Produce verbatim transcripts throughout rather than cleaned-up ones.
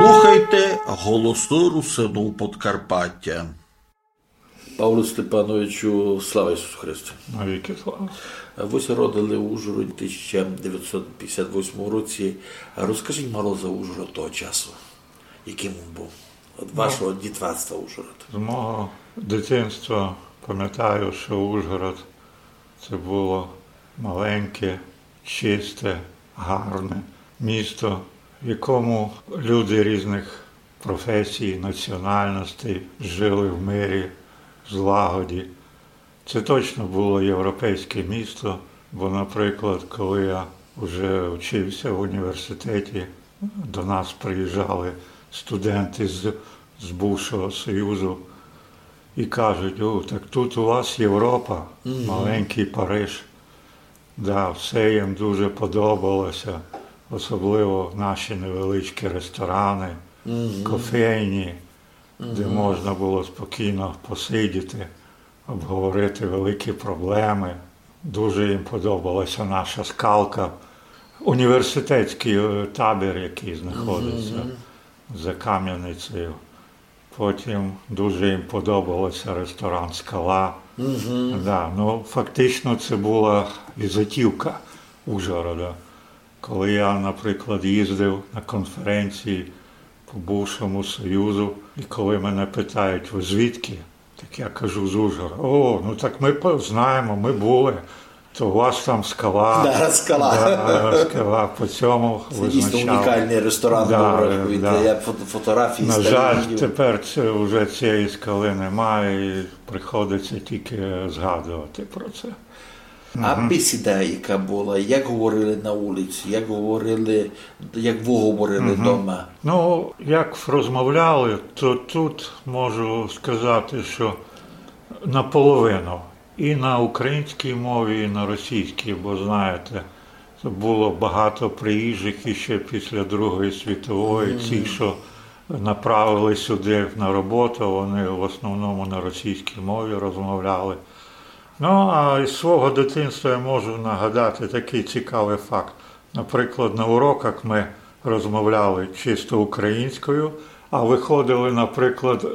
Слухайте Голосы Русинув Подкарпатя. Павле Степановичу, слава Ісусу Христу! Навікы слава. Вы ся родили в Ужгороді в тисяча девятсот пятдесят восьмому році. Розкажіть мало за Ужгород того часу. Яким він був? Од вашого дітвацтва Ужгород. З мого дитинства памятаю, што Ужгород це было маленьке, чисте, гарне місто, в якому люди різных професій, національностей жили в мирі, в злагоді. Це точно было європейське місто, бо, наприклад, коли я вже вчився в університеті, до нас приїжджали студенти з, з бувшого Союзу і кажуть: «О, так тут у вас Європа, маленький Париж». Да, все їм дуже подобалося, особливо наші невеличкі ресторани, кофейні, де можна було спокійно посидіти, обговорити великі проблеми. Дуже їм подобалася наша скалка, університетський, е, табір, який знаходиться за Кам'яницею. Потім дуже їм подобався ресторан «Скала». Да, ну, фактично, це була візитівка Ужгорода. Коли я, наприклад, їздив на конференції по бувшому Союзу, і коли мене питають: «Ви звідки?» Так я кажу: «З Ужгорода». «О, ну так ми по-, знаємо, ми були. То у вас там скала». Да, скала. Да, скала, по цьому визначали. Це дійсно унікальний ресторан був, рахуйте. Да. Я фото-, фотографії старі видів. На жаль, тепер це, вже цієї скали немає, і приходиться тільки згадувати про це. А бесіда, яка була, як говорили на вулиці, як говорили, як ви говорили дома? Ну, як розмовляли, то тут можу сказати, що наполовину. І на українській мові, і на російській, бо, знаєте, було багато приїжджих іще після Другої світової. Ці, що направили сюди на роботу, вони в основному на російській мові розмовляли. Ну, а із свого дитинства я можу нагадати такий цікавий факт. Наприклад, на уроках ми розмовляли чисто українською, а виходили, наприклад,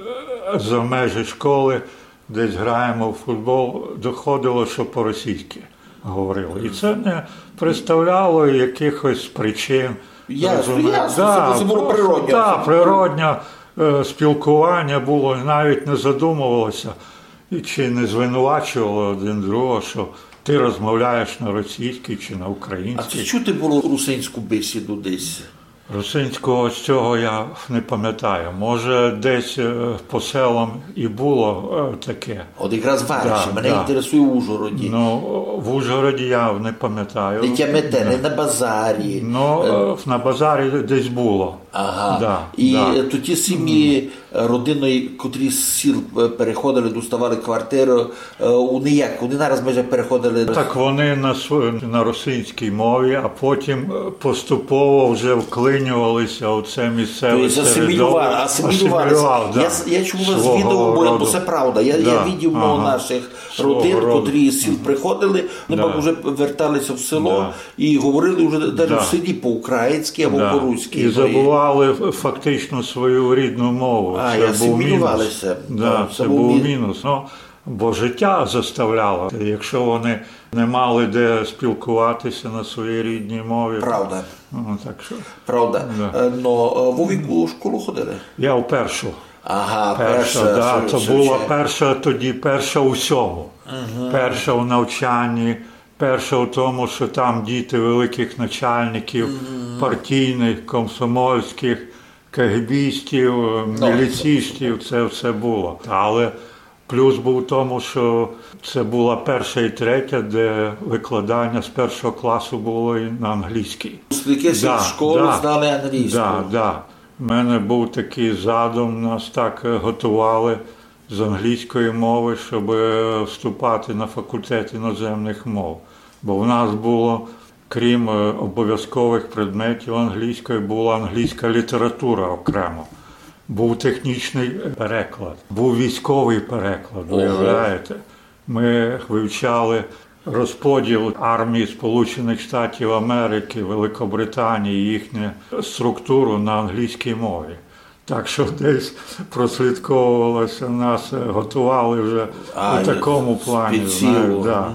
е, за межі школи, десь граємо в футбол, доходило, що по-російськи говорили. І це не представляло якихось причин. Ясно, розумієте? Ясно, це, це було просто природньо. Да, природнє, е, спілкування було, навіть не задумувалося. І чи не звинувачували один другого, що ти розмовляєш на російській чи на українській. А чи чути було русинську бесіду десь? Русинського з цього я не пам'ятаю. Може, десь, е, по селам і було, е, таке. От якраз в Вариші. Да, мене інтересує в Ужгороді. Ну, в Ужгороді я не пам'ятаю. Не тямите, не на базарі. Ну, е, на базарі десь було. Ага. Да, і, е, то ті сім'ї, е, родини, котрі з сіл, е, переходили, доставали квартиру, е, вони як? Вони нараз майже переходили. Так вони на сво-, на русинській мові, а потім, е, поступово вже вклинювалися у це місцеве середовище. Тобто асимілювали, асимілювалися. Асимілював, да. Я с-, я чув вас з відео, бо, бо це правда. Я, я видів, мов, наших родин, котрі з сіл приходили, вони пак уже верталися в село і говорили вже навіть в селі по-українськи або по-руськи. І забували ф-, фактично свою рідну мову. А, і асимілювалися. Да, це був мінус. Ну, бо життя заставляло. Якщо вони не мали де спілкуватися на своїй рідній мові. Правда. Ну, так що. Правда. Да. Е, но, е, ви в яку школу ходили? Я в першу. Ага, перша, да, це була перша тоді, перша у всьому. Перша у навчанні, перша у тому, що там діти великих начальників, партійних, комсомольських, кегебістів, міліцістів, це все було. Але плюс був в тому, що це була перша і третя, де викладання з першого класу було і на англійській. Випускники сільшколи знали англійську. Да, да. У мене був такий задум, нас так, е, готували з англійської мови, щоб, е, вступати на факультет іноземних мов. Бо в нас було, крім, е, обов'язкових предметів англійської, була англійська література окремо. Був технічний переклад, був військовий переклад, уявляєте? Ми вивчали розподіл армії Сполучених Штатів Америки, Великобританії, їхню структуру на англійській мові. Так що десь прослідковувалося, нас готували вже у такому плані, знаєш, да.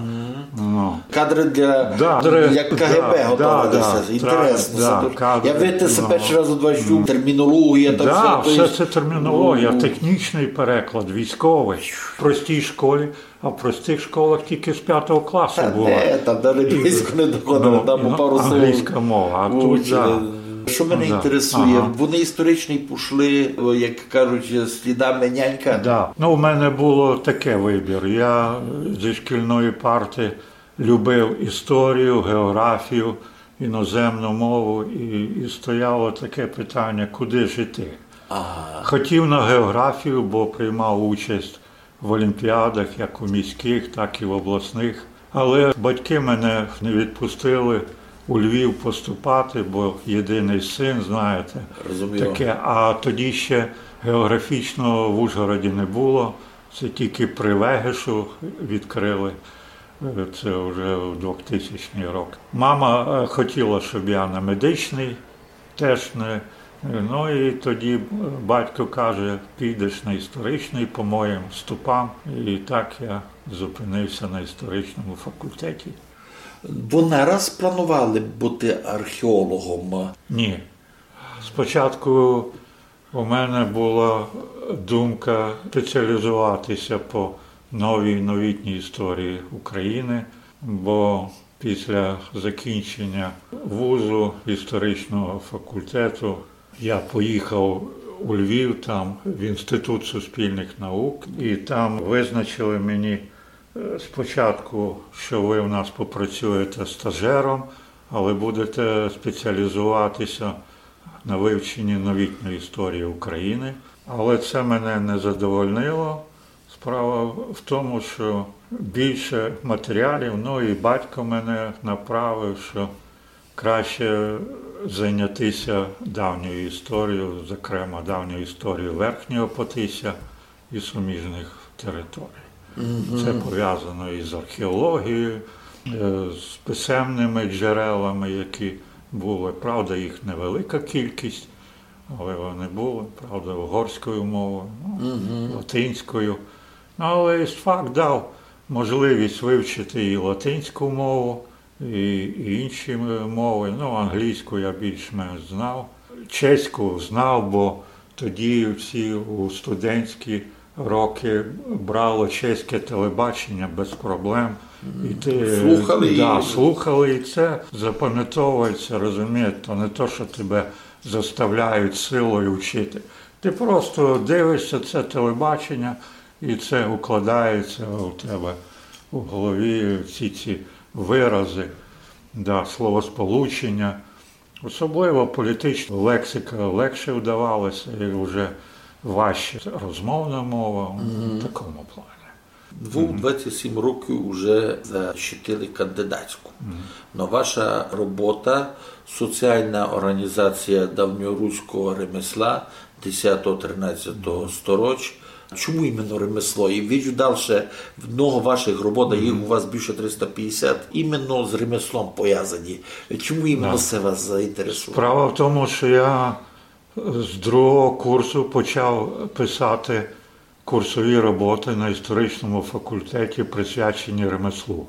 Ну. Кадры для, да, кадры, як К Г Б да, готовилися. Да, інтересно. Да, кадры, я, видите, се першый раз од вас чув, термінологія, там да, все, то все є. Це термінологія, ну, технічний переклад, військовий. В простій школі, а в простих школах тільки з пятого класу було. Та де, там далі близько не доходили, ну, там по пару слов. Англійська мова, а тут, да. Што мене інтересує, вони історичні пішли, о, як кажуть, слідами нянька? Да. Ну, у мене було таке вибір. Я зі шкільної парти любив історію, географію, іноземну мову, і, і стояло таке питання, куди ж іти. Ага. Хотів на географію, бо приймав участь в олімпіадах, як у міських, так і в обласних. Але батьки мене не відпустили у Львів поступати, бо єдиний син, знаєте, таке. А тоді ще географічного в Ужгороді не було. Це тільки при Вегешу відкрили. Е, це вже у двохтисячні роки. Мама, е, хотіла, щоб я на медичний теж не. Ну і тоді батько каже: «Підеш на історичний по моїм стопам». І так я зупинився на історичному факультеті. Вы нараз планували быти археологом? Ні. Спочатку у мене була думка спеціалізуватися по новій, новітній історії України, бо після закінчення вузу, історичного факультету, я поїхав у Львів, там в Інститут суспільних наук, і там визначили мені, е, спочатку, що ви в нас попрацюєте стажером, але будете спеціалізуватися на вивченні новітньої історії України. Але це мене не задовольнило. Справа в тому, що більше матеріалів, ну і батько мене направив, що краще зайнятися давньою історією, зокрема давньою історією Верхнього Потисся і суміжних територій. Це пов'язано із археологією, е, з писемними джерелами, які були. Правда, їх невелика кількість, але вони були, правда, угорською мовою, ну, латинською. Ну, але істфак дав можливість вивчити і латинську мову, і, і інші м-, мови. Ну, англійську я більш-менш знав. Чеську знав, бо тоді всі у студентські роки брало чеське телебачення без проблем. І ти, слухали, да, і слухали, і це запам'ятовується, розумієте, то не то, що тебе заставляють силою вчити. Ти просто дивишся це телебачення, і це укладається у тебе у голові, всі ці вирази, да, словосполучення. Особливо політична лексика легше вдавалася, і вже важче розмовна мова, в такому плані. Вы двадцять сім років уже защитили кандидатську. Но ваша робота, соціална орґанізація давньоруського ремесла десятого-тринадцятого стороч. Чому іменно ремесло? І виджу дальше, много ваших робот, а їх у вас більше триста пятдесят, іменно з ремеслом повязані. Чому іменно се вас заінтересувало? Справа в тому, що я з другого курсу почав писати курсові роботи на історичному факультеті, присвячені ремеслу.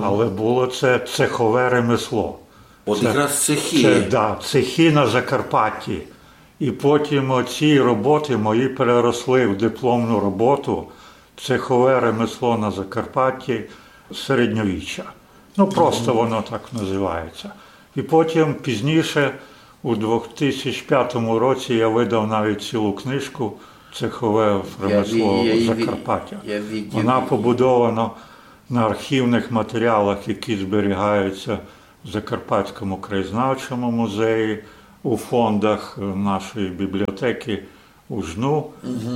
Але було це цехове ремесло. От якраз цехи. Це, да, цехи на Закарпатті. І потім оці роботи мої переросли в дипломну роботу «Цехове ремесло на Закарпатті середньовіччя». Ну, просто воно так називається. І потім пізніше, у двох тисяч п'ятому році, я видав навіть цілу книжку «Цехове ремесло Закарпаття». Вона побудована на архівних матеріалах, які зберігаються в Закарпатському краєзнавчому музеї, у фондах нашої бібліотеки УжНУ,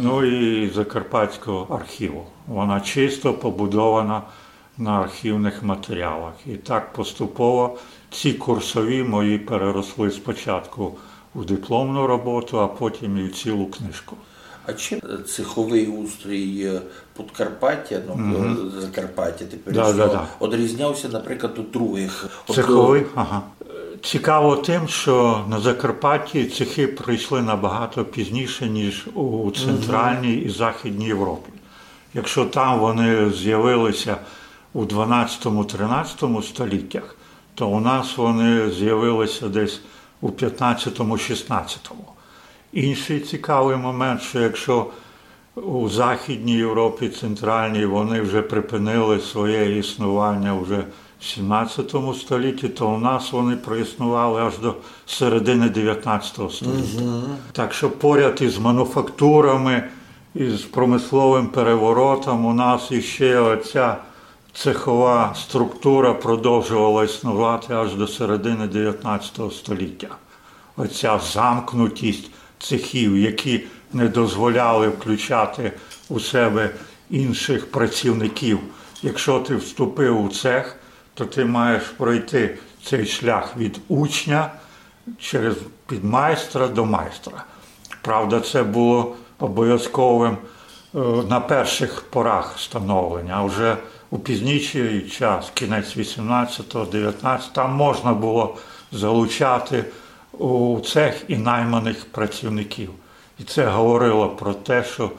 ну і Закарпатського архіву. Вона чисто побудована на архівних матеріалах. І так поступово ці курсові мої переросли спочатку у дипломну роботу, а потім і в цілу книжку. А чим цеховый устрій, е, Подкарпаття, ну, е, Закарпаття тепер, да, да, да, одрізнявся, наприклад, од других? От, цеховый, ага. Цікаво тим, що на Закарпатті цехи прийшли набагато пізніше, ніж у Центральній і Західній Європі. Якщо там вони з'явилися у дванадцятому-тринадцятому століттях, то у нас вони з'явилися десь у п'ятнадцятому-шістнадцятому. Інший цікавий момент, що якщо у Західній Європі, Центральній, вони вже припинили своє існування вже в сімнадцятому столітті, то у нас вони проіснували аж до середини дев'ятнадцятого століття. Так що поряд із мануфактурами, із промисловим переворотом у нас іще оця цехова структура продовжувала існувати аж до середини дев'ятнадцятого століття. Оця замкнутість цехів, які не дозволяли включати у себе інших працівників. Якщо ти вступив у цех, то ти маєш пройти цей шлях від учня через підмайстра до майстра. Правда, це було обов'язковим, е, на перших порах становлення, а вже у пізніший час, кінець вісімнадцятого, дев'ятнадцятого, там можна було залучати у цех і найманих працівників. І це говорило про те, що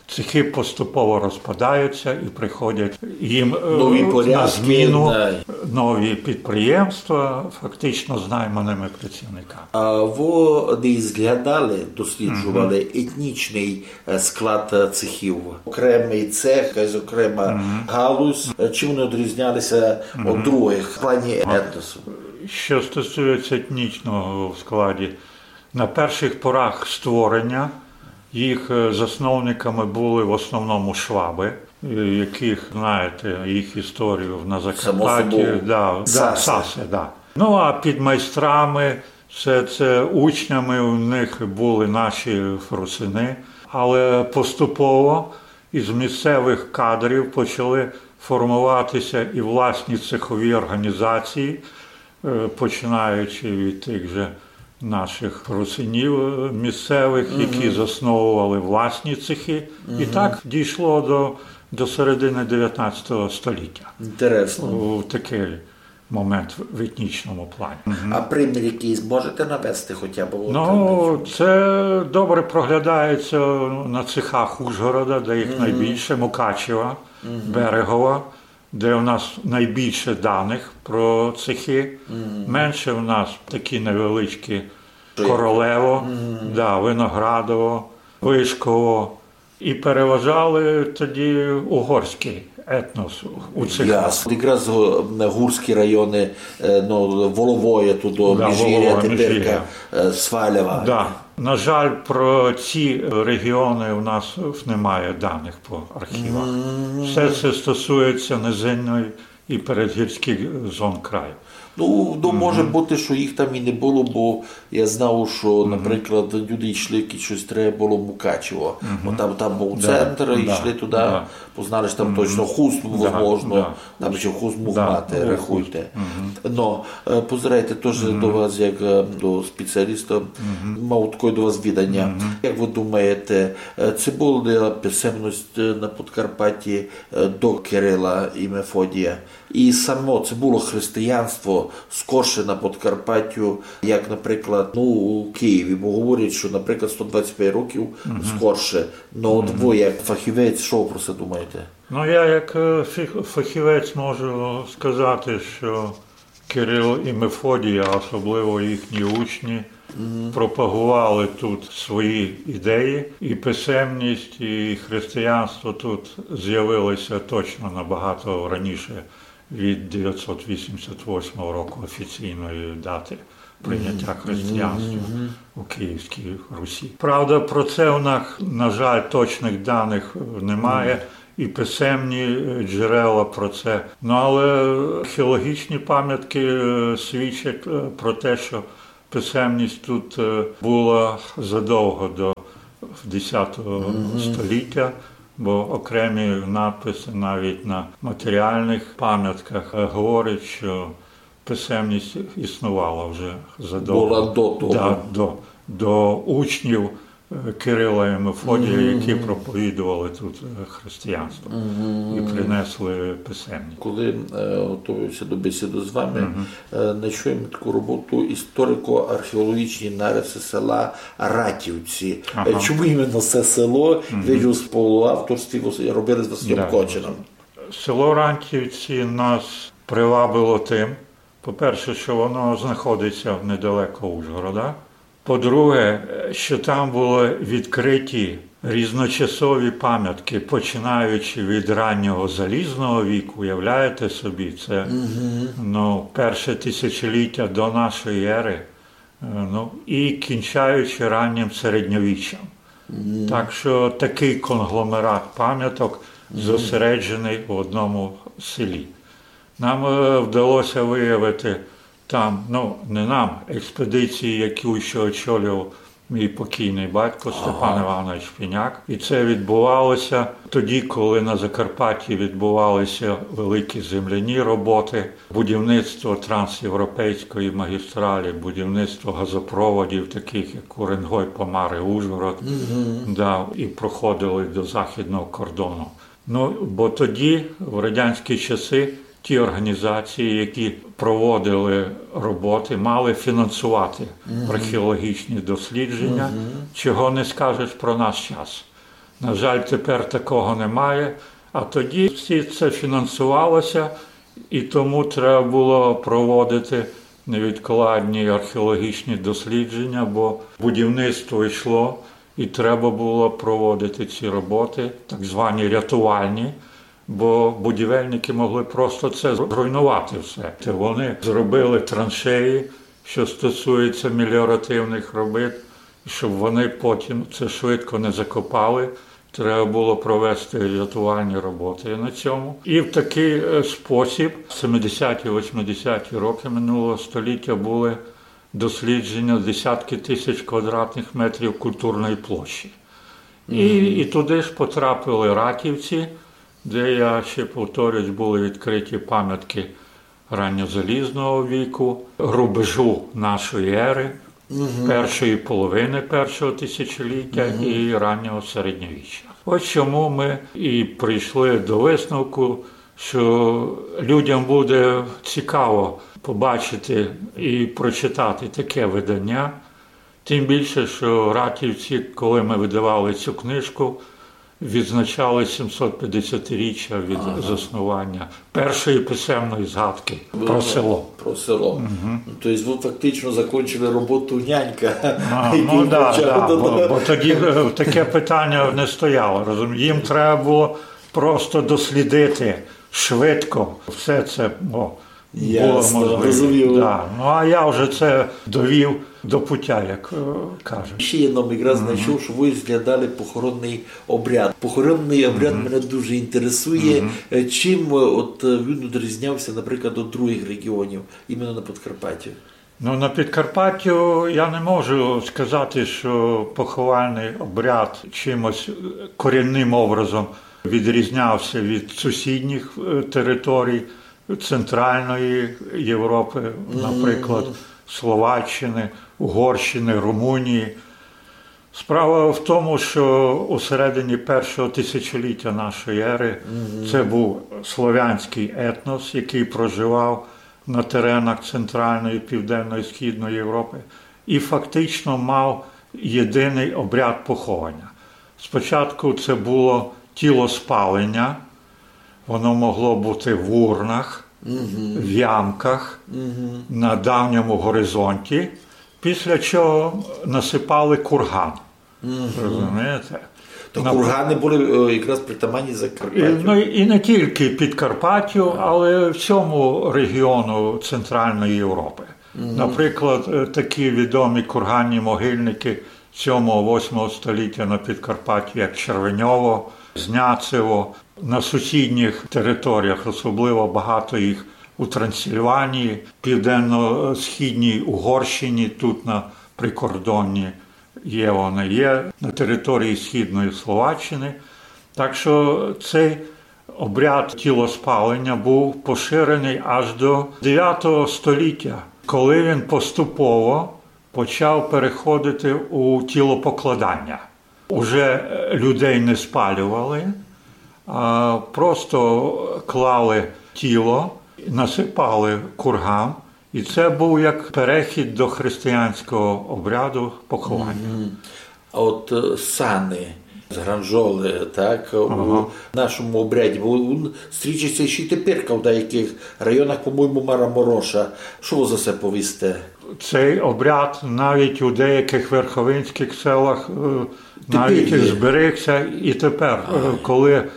цехи поступово розпадаються і приходять їм, е, нові порядки, на зміну, да, нові підприємства, фактично з найманими працівниками. А вы десь зглядали, досліджували етнічный, е, склад, е, цехів? Окремый цех, якась окрема галузь. Е, чим вони одрізнялися од других в плані етносу? Що стосується етнічного в складі, на перших порах створення їх, е, засновниками були в основному шваби, е, яких, знаєте, їх історію на Закарпатті. Само собою. Да, да, сасы. Сасы, да. Ну, а підмайстрами, це, це учнями у них були наші русины. Але поступово із місцевих кадрів почали формуватися і власні цехові організації, е, починаючи від тих же наших русинів, е, місцевих, які засновували власні цехи. І так дійшло до, до середини дев'ятнадцятого століття. Інтересно. У такий момент в етнічному плані. А примір якийсь можете навести хоча б? Ну, це добре проглядається на цехах Ужгорода, де їх найбільше, Мукачева, Берегова, де в нас найбільше даних про цехи. Менше в нас такі невеличкі: Королево, да, Виноградово, Вишково. І переважали тоді угорський етнос у цехах. Ясно. Якраз, о, гурські районы, е, ну, Воловоє, туды, да, Міжгіря, Воловоє, теперка, Міжгіря, е, Свалява. Да. На жаль, про ці регіони у нас немає даних по архівах. Все це стосується низинної і передгірських зон краю. Ну, ну, може бути, що їх там і не було, бо я знав, що, наприклад, люди йшли, які щось треба було, Мукачево. Бо там, там був центр, йшли туди, познали, що там точно хуст, возможно, там ще хуст муг мати, рахуйте. Но, е, позирайте, теж до вас, як, е, до спеціаліста, мав таке до вас відання. Як ви думаєте, е, ци була писемность, е, на Подкарпатті, е, до Кирила і Мефодія? І само ци було християнство скорше на Подкарпаттю, як, наприклад, ну, у Києві, бо говорять, що, наприклад, сто двадцять пять років скорше. Ну, от ви, як фахівець, що ви про це думаєте? Ну, я як, е, фіх-, фахівець можу сказати, що Кирил і Мефодій, а особливо їхні учні, пропагували тут свої ідеї, і писемність, і християнство тут з'явилися точно набагато раніше від дев'ятсот вісімдесят восьмого року офіційної дати прийняття християнства у Київській Русі. Правда, про це у нас, на жаль, точних даних, е, немає, і писемні, е, джерела про це. Ну, але археологічні пам'ятки, е, свідчать, е, про те, що писемність тут, е, була задовго до десятого століття, бо окремі надписи навіть на матеріальних пам'ятках, е, говорять, що писемність існувала вже задовго. Була до того. Да, до, до учнів е, Кирила і Мефодія, які проповідували тут, е, християнство і принесли писемність. Коли е, готувався до бесіди з вами, е, знайшов я таку роботу: історико-археологічні нариси села Ратівці. Е, чому іменно це село? Ви ж у співавторстві вос- робили з Василем Кочином. Село Ратівці нас привабило тим, по-перше, що воно знаходиться недалеко Ужгорода. По-друге, що там були відкриті різночасові пам'ятки, починаючи від раннього залізного віку, уявляєте собі, це, ну, перше тисячоліття до нашої ери, е, ну, і кінчаючи раннім середньовіччям. Так що такий конгломерат пам'яток зосереджений в одному селі. Нам, е, вдалося виявити там, ну, не нам, експедиції, яку ще очолював мій покійний батько Степан Іванович Піняк. І це відбувалося тоді, коли на Закарпатті відбувалися великі земляні роботи, будівництво трансєвропейської магістралі, будівництво газопроводів, таких як Уренгой, Помари, Ужгород, да, і проходили до західного кордону. Ну, бо тоді, в радянські часи, ті організації, які проводили роботи, мали фінансувати археологічні дослідження, чого не скажеш про наш час. На жаль, тепер такого немає, а тоді всі це фінансувалося, і тому треба було проводити невідкладні археологічні дослідження, бо будівництво йшло, і треба було проводити ці роботи, так звані рятувальні, бо будівельники могли просто це зруйнувати все. Та вони зробили траншеї, що стосується меліоративних робіт, щоб вони потім це швидко не закопали. Треба було провести рятувальні роботи на цьому. І в такий, е, спосіб, в семидесяті, восьмидесяті роки минулого століття були дослідження десятки тисяч квадратних метрів культурної площі. І, і туди ж потрапили Ратівці, де, я ще повторюсь, були відкриті пам'ятки ранньозалізного віку, рубежу нашої ери, першої половини першого тисячоліття і раннього середньовіччя. Ось чому ми і прийшли до висновку, що людям буде цікаво побачити і прочитати таке видання. Тим більше, що Ратівці, коли ми видавали цю книжку, відзначали сімсотп'ятдесятиріччя від заснування першої писемної згадки про село. Про село. Ну, то есть ви фактично закончили роботу нянька, а, який ну, да, почав да, бо, бо тоді, е, таке питання не стояло. Розумієте? Їм треба було просто дослідити швидко все це. О, було можливо. Ясно, розумію. Да. Ну, а я вже це довів до пуття, як, е, кажуть. Ще я нам якраз знайшов, що ви розглядали похоронний обряд. Похоронний обряд мене дуже інтересує. Е, чим, е, от, е, він відрізнявся, наприклад, від других регіонів, іменно на Подкарпатті? Ну, на Підкарпаттю я не можу сказати, що поховальний обряд чимось, е, корінним образом відрізнявся від сусідніх, е, територій Центральної Європи, наприклад, Словаччини, Угорщини, Румунії. Справа в тому, що у середині першого тисячоліття нашої ери це був слов'янський етнос, який проживав на теренах Центральної, Південної, Східної Європи і фактично мав єдиний обряд поховання. Спочатку це було тілоспалення, воно могло бути в урнах, в ямках, на давньому горизонті, після чого насипали курган. Розумієте? То кургани були, е, якраз притаманні Закарпаттю. І, ну, і не тільки Підкарпаттю, але всьому регіону Центральної Європи. Наприклад, е, такі відомі курганні могильники сьомого-восьмого століття на Підкарпатті, як Червеньово, Зняцево, на сусідніх територіях, особливо багато їх у Трансильванії, південно-східній Угорщині, тут на прикордонні є вони, є на території Східної Словаччини. Так що цей обряд тілоспалення був поширений аж до дев'ятого століття, коли він поступово почав переходити у тілопокладання. Уже, е, людей не спалювали, а просто клали тіло, насипали курган. І це був як перехід до християнського обряду поховання. А от е, сани, згранжоли, так, у нашому обряді, бо він стрічеться ще й тепер в деяких районах, по-моєму, Марамороша. Що ви за це повісте? Цей обряд навіть у деяких верховинських селах, е, навіть зберігся і тепер, е, коли, е,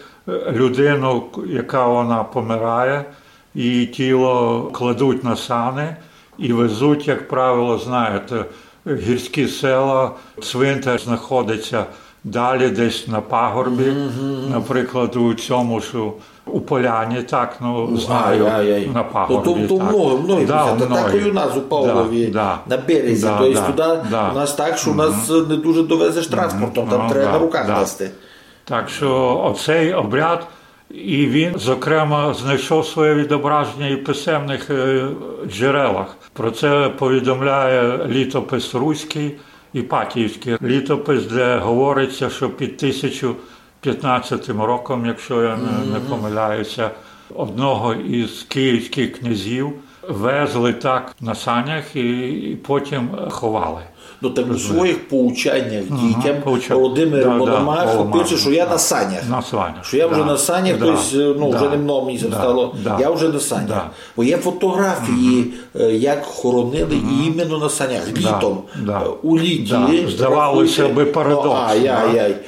людину, яка вона помирає, її тіло кладуть на сани і везуть, як правило, знаєте, гірські села, цвинтар знаходиться далі десь на пагорбі, наприклад, у цьому ж у Поляні, так, ну, знаю, на пагорбі. То, то много, много. Так, і у нас у Павлові, на березі. Тобто туди у нас так, що у нас не дуже довезеш транспортом, там треба на руках нести. Так що оцей обряд, і він, зокрема, знайшов своє відображення і в писемних, е, джерелах. Про це повідомляє літопис руський, Іпатіївський літопис, де говориться, що під тисячу п'ятнадцятим роком, якщо я не, не помиляюся, одного із київських князів везли так на санях і, і потім ховали. Ну, там у своїх поучаннях дітям Володимир Мономах пише, що я на санях. Що я вже на санях, тобто, ну, вже не много місяців стало, я вже на санях. Бо є фотографії, е, як хоронили і іменно на санях, літом, е, у літі. Здавалося би, парадокс.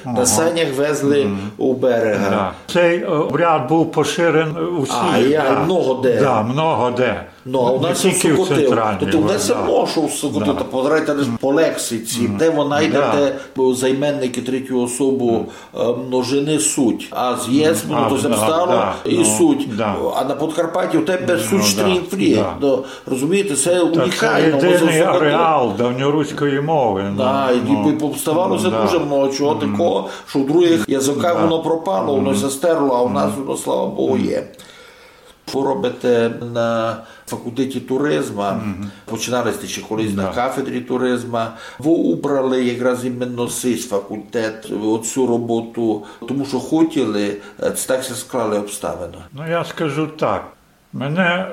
На санях везли у берега. Цей, е, обряд був поширений у всіх. Много де. Да, много де. Ну, а у нас у Сокотилі. Тобто у нас все може у Сокотилі. Та позирайте лише по лексиці, де ви найдете займенники третю особу, е, множини суть. А з єсмину то все стало і суть. А на Подкарпатті у тебе суть стрімфрі. Ну, розумієте, це унікально. Це єдиний ареал давньоруської мови. Да, і повставало це дуже много чого такого, що в других язиках воно пропало, воно все стерло, а у нас воно, слава Богу, є. Ви робите на факультеті туризма, починали сте ще колись на кафедрі туризма. Ви обрали якраз іменно сей факультет, оцю роботу, тому що хотіли, е, так ся склали обставини. Ну, я скажу так. Мене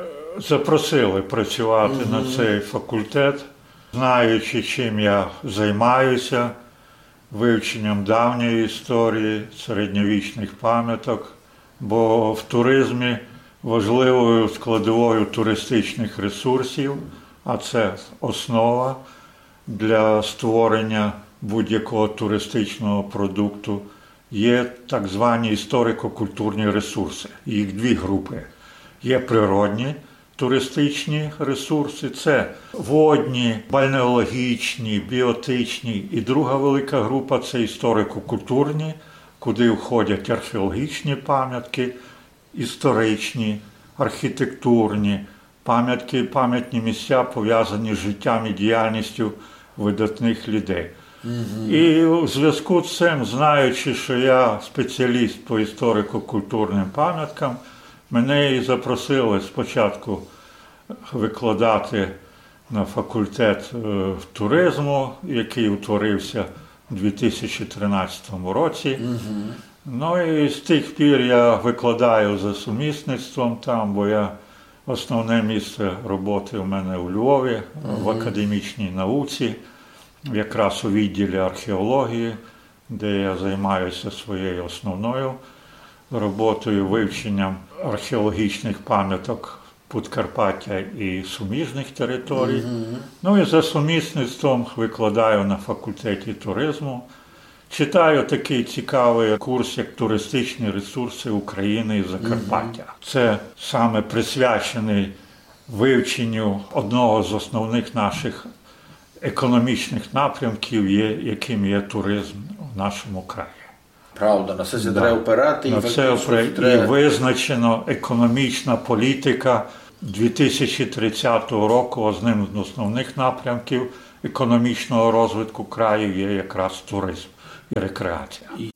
запросили працювати на цей факультет, знаючи, чим я займаюся, вивченням давньої історії, середньовічних пам'яток, бо в туризмі важливою складовою туристичних ресурсів, а це основа для створення будь-якого туристичного продукту, є так звані історико-культурні ресурси. Їх дві групи. Є природні туристичні ресурси, це водні, бальнеологічні, біотичні. І друга велика група — це історико-культурні, куди входять археологічні пам'ятки, історичні, архітектурні пам'ятки, пам'ятні місця, пов'язані з життям і діяльністю видатних людей. І у зв'язку з цим, знаючи, що я спеціаліст по історико-культурним пам'яткам, мене і запросили спочатку викладати на факультет, е, туризму, який утворився у дві тисячі тринадцятому році. Ну і з тих пір я викладаю за сумісництвом там, бо я, основне місце роботи у мене у Львові, в академічній науці, якраз у відділі археології, де я займаюся своєю основною роботою, вивченням археологічних пам'яток Подкарпаття і суміжних територій. Ну і за сумісництвом викладаю на факультеті туризму. Читаю такий цікавий курс, як «Туристичні ресурси України і Закарпаття». Це саме присвячений вивченню одного з основних наших економічних напрямків, є, яким є туризм у нашому краї. Правда, на це ся треба опирати, і На це фактично опре- треба. І визначено економічна політика дві тисячі тридцятого року. Одним з основних напрямків економічного розвитку краю є якраз туризм і рекреація. І